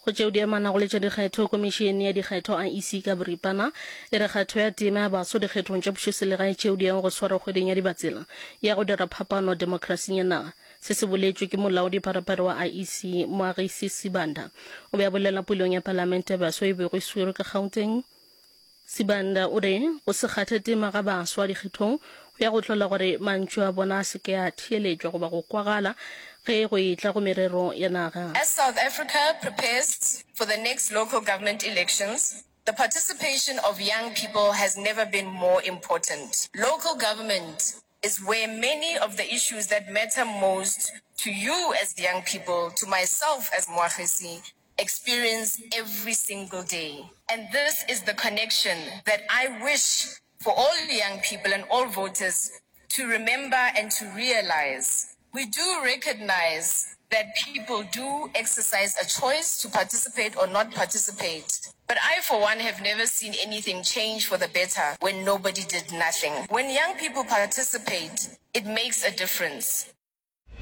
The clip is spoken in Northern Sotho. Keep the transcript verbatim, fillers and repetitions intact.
Go tšeo di amanago le tša dikgetho, Komišene ya Dikgetho, I E C ka boripana, e re kgatho ya tema ya baswa dikgethong tša pušoselegae tšeo di yago go swarwa kgweding ya Dibatsela ya go dira phapano demokrasing ya naga. Se se boletšwe ke molaodi pharephare wa I E C Moagisi Sibanda. O be a bolela pulong ya Palamente ya Baswa e bego e swerwe ka Gauteng. Sibanda o re go se kgathe tema ga baswa dikgethong go ya go hlola gore mantšu a bona a se ke a theeletšwa goba go kwagala ge go etla go merero ya naga. As South Africa prepares for the next local government elections, the participation of young people has never been more important. Local government is where many of the issues that matter most to you as young people, to myself as Moagisi, experience every single day. And this is the connection that I wish for all young people and all voters to remember and to realize. We do recognize that people do exercise a choice to participate or not participate. But I, for one, have never seen anything change for the better when nobody did nothing. When young people participate, it makes a difference.